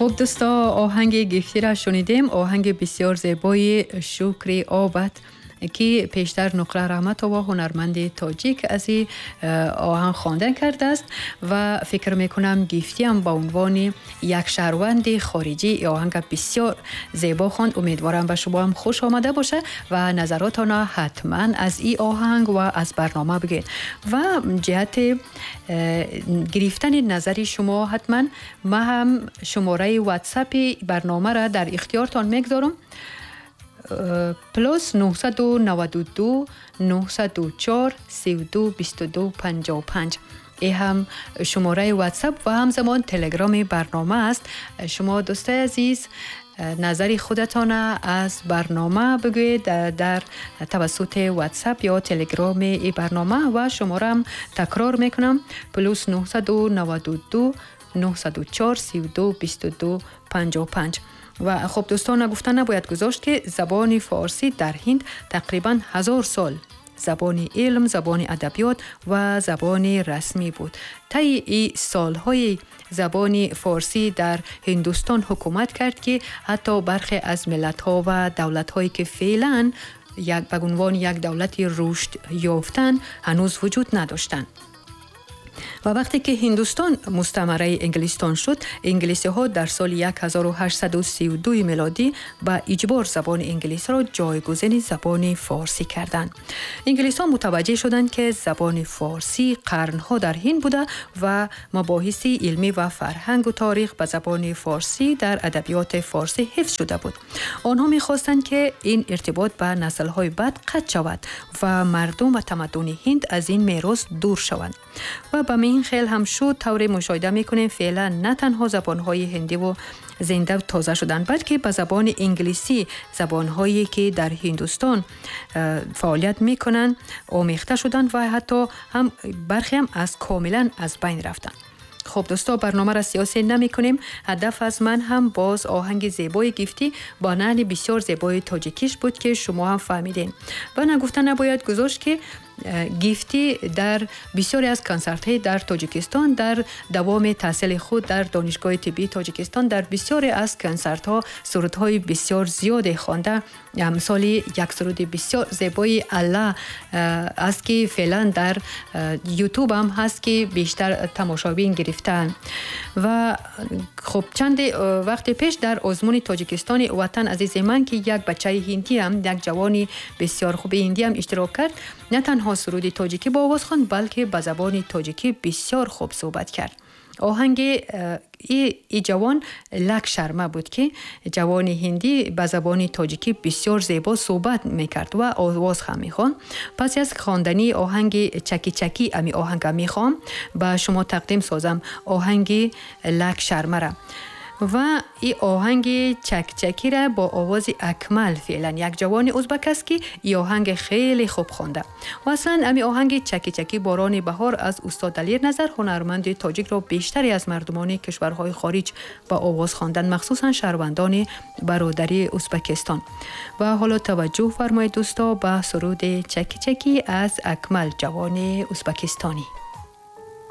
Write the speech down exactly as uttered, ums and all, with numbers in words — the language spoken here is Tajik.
Хуб дӯсто, оҳанги гифтира шунидем, оҳанги бисёр зебои Шукри Обад, ки пештар Нуқра Раҳматова, ҳунарманди тоҷик, аз ин оҳанг хондан кардааст ва фикр мекунам, Гифтиам ба унвони як шаҳрванди хориҷӣ ин оҳанга бисёр зебо хонд. Умедворам, ба шумо ҳам хуш омада бошад ва назаротона ҳатман аз ин оҳанг ва аз барнома бигӯед. Ва ҷиҳати гирифтани назари шумо ҳатман ман ҳам шумораи ватсапи барномаро дар ихтиёртон мегузорам: плюс нӯҳсаду наваду ду нӯҳсаду чор сию ду бисту ду панҷоҳу панҷ. Ин ҳам шумораи ватсап ва ҳамзамон телеграми барнома аст. Шумо, дӯстои азиз, назари худатона аз барнома бигӯед дар тавассути ватсап ё телеграми ин барнома. Ва шумораам такрор мекунам: плюс нӯҳсаду наваду ду нӯҳсаду чор сию ду бисту ду панҷоҳу панҷ. Ва хуб дӯстон, нагуфта набояд гузошт, ки забони форсӣ дар Ҳинд тақрибан ҳазор сол забони илм, забони адабиёт ва забони расмӣ буд. Таи и солҳои забони форсӣ дар Ҳиндустон ҳукумат кард, ки ҳатто бархе аз миллатҳо ва давлатҳое, ки феълан як ба унвони як давлати рушд ёфтан, ҳанӯз вуҷуд надоштанд. Ва вақте ки Ҳиндустон мустамараи Инглистон шуд, инглисиҳо дар соли ҳазору ҳаштсаду сию ду мелодӣ ба иҷбор забони инглисиро ҷойгузини забони форсӣ карданд. Инглисҳо мутаваҷҷеҳ шуданд, ки забони форсӣ қарнҳо дар Ҳинд буда ва мабоҳиси илмӣ ва фарҳангу таърих ба забони форсӣ дар адабиёти форсӣ ҳифз шуда буд. Онҳо мехостанд, ки ин иртибот ба наслҳои баъд қатъ шавад ва мардум ва тамаддуни Ҳинд аз ин мерос дур шаванд. Ва ба ин хел ҳам шуд. Тавре мушоҳида мекунем, феълан на танҳо забонҳои ҳиндиву зинда тоза шуданд, балки ба забони инглисӣ забонҳое, ки дар Ҳиндустон э, фаъолият мекунанд, омехта шуданд ва ҳатто ҳам бархеам аз комилан аз байн рафтанд. Хуб дӯсто, барномаро сиёсӣ намекунем. Ҳадаф аз ман ҳам боз оҳанги зебои Гифтӣ бо наҳни бисёр зебои тоҷикиш буд, ки шумо ҳам фаҳмидем. Ва нагуфта набояд гузошт, ки э, Гифтӣ дар бисёре аз консертҳои дар Тоҷикистон, дар давоми таҳсили худ дар Донишгоҳи тиббии Тоҷикистон, дар бисёре аз консертҳо сурудҳои бисёр зиёде хонда. Мисоли як суруди бисёр зебои Алла э, аст, ки феълан дар ютуб ҳам ҳаст, ки бештар тамошобин гирифтаанд. Ва хуб, чанде э, вақте пеш дар озмуни Тоҷикистони «Ватан азизи ман», ки як бачаи ҳиндиам, як ҷавони бисёр хуби ҳиндиам иштирок кард, на танҳо суруди тоҷикӣ бо овоз хонд, балки ба забони тоҷикӣ бисёр хуб суҳбат кард. Оҳанги э, и ҷавон Лак Шарма буд, ки ҷавони ҳиндӣ ба забони тоҷикӣ бисёр зебо суҳбат мекард ва овоз ҳам мехонд. Пас аз хондани оҳанги Чаки Чаки, ами оҳанга мехоҳам ба шумо тақдим созам, оҳанги Лак Шармара. Ва и оҳанги Чакчакира бо овози Акмал, феълан як ҷавони узбак аст, ки и оҳанги хеле хуб хонда. Ва аслан ами оҳанги Чаки Чаки борони баҳор аз устод Далер Назар, ҳунарманди тоҷикро, бештаре аз мардумони кишварҳои хориҷ ба овоз хонданд, махсусан шаҳрвандони бародарии Узбакистон. Ва ҳоло таваҷҷӯҳ фармоед, дӯсто, ба суруди Чаки Чаки аз Акмал, ҷавони узбакистонӣ.